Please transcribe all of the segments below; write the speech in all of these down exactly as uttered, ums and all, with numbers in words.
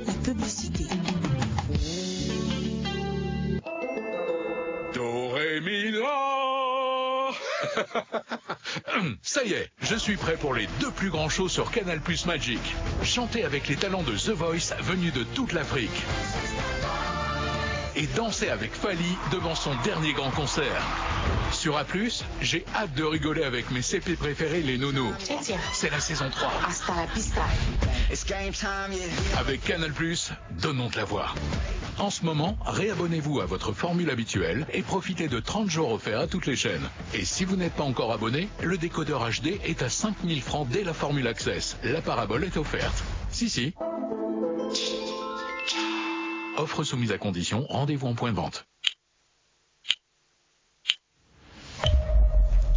La publicité. Do, ré, mi, la. Ça y est, je suis prêt pour les deux plus grands shows sur Canal Plus Magic. Chantez avec les talents de The Voice venus de toute l'Afrique. Et dansez avec Fally devant son dernier grand concert. Sur A plus, j'ai hâte de rigoler avec mes C P préférés, les Nounous. C'est la saison trois. Hasta la pista. Avec Canal Plus, donnons de la voix. En ce moment, réabonnez-vous à votre formule habituelle et profitez de trente jours offerts à toutes les chaînes. Et si vous n'êtes pas encore abonné, le décodeur H D est à cinq mille francs dès la formule Access. La parabole est offerte. Si, si. Offre soumise à condition, rendez-vous en point de vente.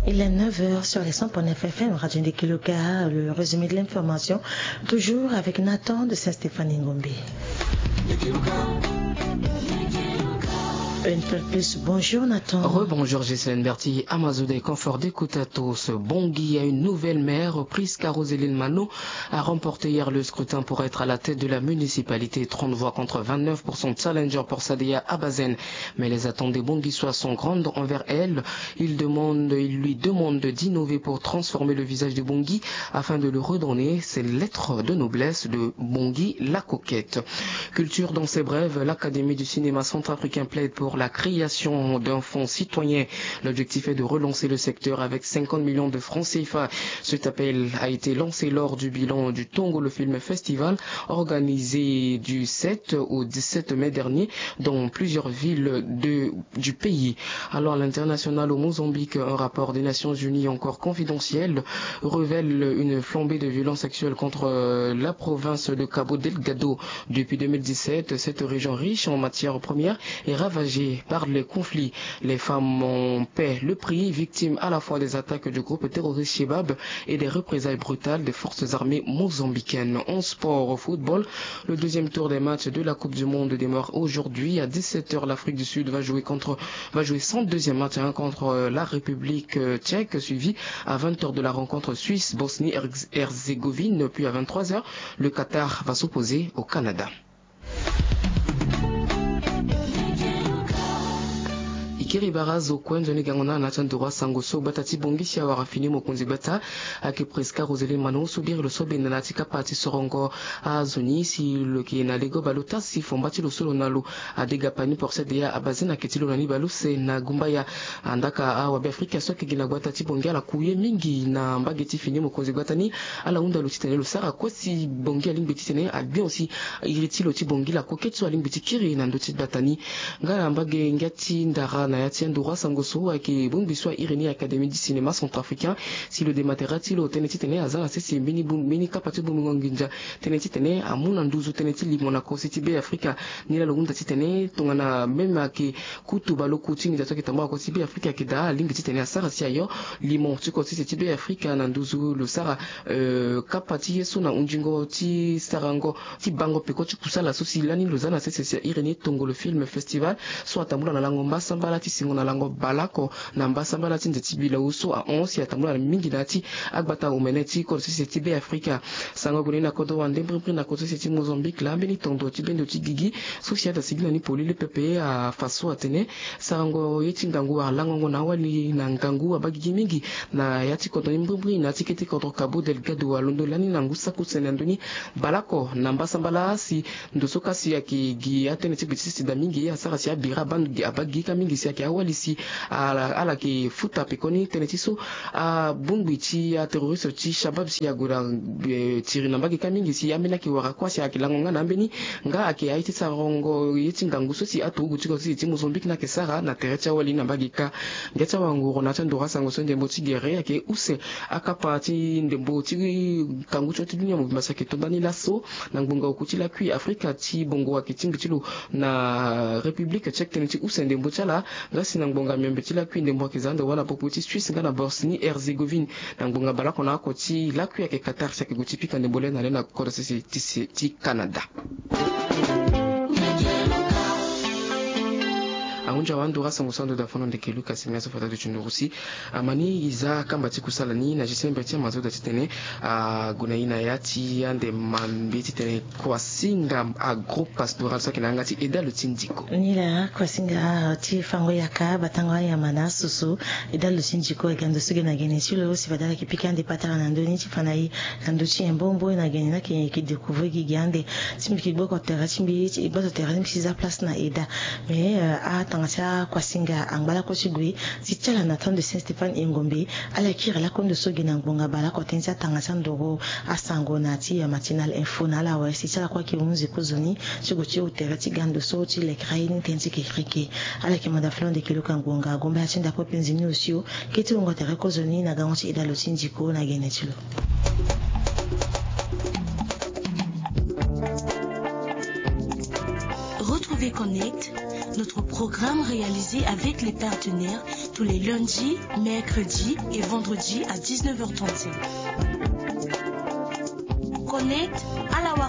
Il est neuf heures sur les cent point neuf F M, Radio Ndekiloka, le résumé de l'information, toujours avec Nathan de Saint-Stéphane Ngombe. Une fois de plus, bonjour Nathan. Rebonjour Gisèle Berti, Amazou des confort d'écoute à tous. Bongi a une nouvelle maire, Prisca Roseline Mano, a remporté hier le scrutin pour être à la tête de la municipalité. Trente voix contre vingt-neuf pour son challenger pour Sadia Abazen. Mais les attentes des Bonguissois sont grandes envers elle. Ils demandent, ils lui demandent d'innover pour transformer le visage de Bongi afin de lui redonner ses lettres de noblesse de Bongi la coquette. Culture dans ses brèves, l'Académie du cinéma centrafricain plaide pour la création d'un fonds citoyen. L'objectif est de relancer le secteur avec cinquante millions de francs C F A. Cet appel a été lancé lors du bilan du Tongo, le film festival, organisé du sept au dix-sept mai dernier dans plusieurs villes de, du pays. Alors, à l'international, au Mozambique, un rapport des Nations Unies encore confidentiel révèle une flambée de violences sexuelles contre, euh, la province de Cabo Delgado. Depuis deux mille dix-sept, cette région riche en matières premières est ravagée par les conflits. Les femmes en paient le prix, victimes à la fois des attaques du groupe terroriste Shebab et des représailles brutales des forces armées mozambicaines. En sport, au football, le deuxième tour des matchs de la Coupe du Monde démarre aujourd'hui. À dix-sept heures, l'Afrique du Sud va jouer contre, va jouer son deuxième match, hein, contre, euh, la République, euh, tchèque, suivi à vingt heures de la rencontre Suisse-Bosnie-Herz-, Herzégovine, puis à vingt-trois heures, le Qatar va s'opposer au Canada. Ikiri bara zo kue nzoni gango na na ti anduru asango so gbata ti Bongi si awara fini mokonzi gbata ayeke Prisca Roseline Mano so biri lo so benda na ya ti kapa ti sorongo azo ni si lo yeke na lego bale ota si fomba ti lo so lo na lo adega pani porse de ya abazin ayeke ti lo na ni bale use na gumbaya. Andaka awabe afrika so ayeke gi na gbata ti Bongi ala ku ye mingi na mbage ti fini mokonzi gbata ni. Ala hunda lo titene lo sara kue si Bongi alingbi titene agbion si iri ti lo ti Bongi lakue keti so alingbi ti kiri na ndö ti gbata ni. Nga na mbage ngia ti ndara na ya ti anduru asango so ayeke bongbi so airi ni académie du cinéma centrafricain si lo dematera ti lo tënë titene aza na sese mbeni bu-, mbeni kapa ti bongbingo nginza tënë titene amu na nduzu tënë ti limo na kosi ti Be Afrika. Ni laa lo hunda titene tongana même ayeke kutu baleoku ti nginza so ayeke tambula na kosi ti Be Afrika ayeke daa alingbi titene asara si ayo limo ti kosi ti Be Afrika na nduzu lo sara, euh, kapa ti ye so na hunzingo ti sarango ti bango peko ti kusala so si lani lo za na sese si airi ni tongo le film festival so atambula na lango mbasambala ti singo na lango baleoko na mbasambala ti nze ti bilau so ahon si atambula mingi na ya ti agbata omene ti kodro sese ti Be Afrika. Sango gue ni na kodro wande mbrimbri na kodro sese ti Mozambique laa mbeni tondo ti bendo ti gigi so si ada sigi na ni polele pepe afa so atene sarango ye ti ngangu alangongo na awali na ngangu abaa gigi mingi na ya ti kodro ni mbrimbri na ya ti kete kodro Cabo Delgado alondo lani na ngu saki use na ndö ni baleoko na mbasambala si ndo so ka si ayeke gi atënë ti gbe ti sese daa mingi asara si abira abaa gi ka mingi si ayeke awali si ala, ala yeke futa pekoni tënë ti so abongbi ti aterroriste ti Shabab si ague na, eh, tiri na mbage ka mingi si ambeni ayeke wara kuâ si ayeke lango nga na ambeni nga ayeke aye ti sarango ye ti ngangu so si aturugu ti kodro sese ti Mozambique ni ayeke sara na tere ti awali na mbage ka. Ngia ti awanguru na ya ti anduru asango so ndembo ti gere ayeke use akapa ti ndembo ti kangu ti oti dunia mobimba si ayeke to ndani laso na ngbonga oku ti lakui Afrika ti bongo ayeke tingbi ti lo na République Tchèque tënë ti use ndembo ti ala. Nga si na ngbonga miombe ti lakui ndembo ayeke za ande wâ na popo ti Suisse nga na Bosnie Herzégovine. Na ngbonga baleoko na oko ti lakui ayeke Qatar si ayeke gue ti pika ndembo le na le na kodro sese ti se ti Canada. Ahunzi awa ndo ra sango so ando da fono ndeke Lucas Miazo fata do ti nduru si amani e za kamba ti kusala ni na gestion mbeti ama zo da titene ague na ye na ya ti ande mambe titene kuasinga agro pastoral so ayeke na yanga ti eda lo ti ndiko. Ni laa kuasinga ti fango yaka batango ayamba na asoso. Eda lo ti ndiko ayeke ando so ge na gene ti lo si fade ala yeke pika ande patara na ndö ni ti fa na e na ndö ti nyen mbombo na gene ni ayeke découvrir gigi ande. Ti mbi yeke gboko tere ti mbi ti gbato tere ti mbi ti za place na eda. Mais atanga ti akuasinga angba lakue ti gue ti ti ala na temps de Saint Stéphane Engombe. Ala kiri lakue ndo so ge na ngbonga baleoko tënë ti atanga ti andoro asango na ti matinal info na ala awe si ti ala kue ayeke hunzi kozoni ti gue ti tere ti ga ndo so ti lekere ye ni tënë ti kekereke. Ala yeke manda flo ndeke luka ngbonga agomba ya ti ndako penzi ni osio. Keti wungo tere kozoni na gango ti eda lo ti ndiko na gene ti lo. Retrouvez Connect, notre programme réalisé avec les partenaires tous les lundis, mercredis et vendredis à dix-neuf heures trente-cinq. Connect, ala wara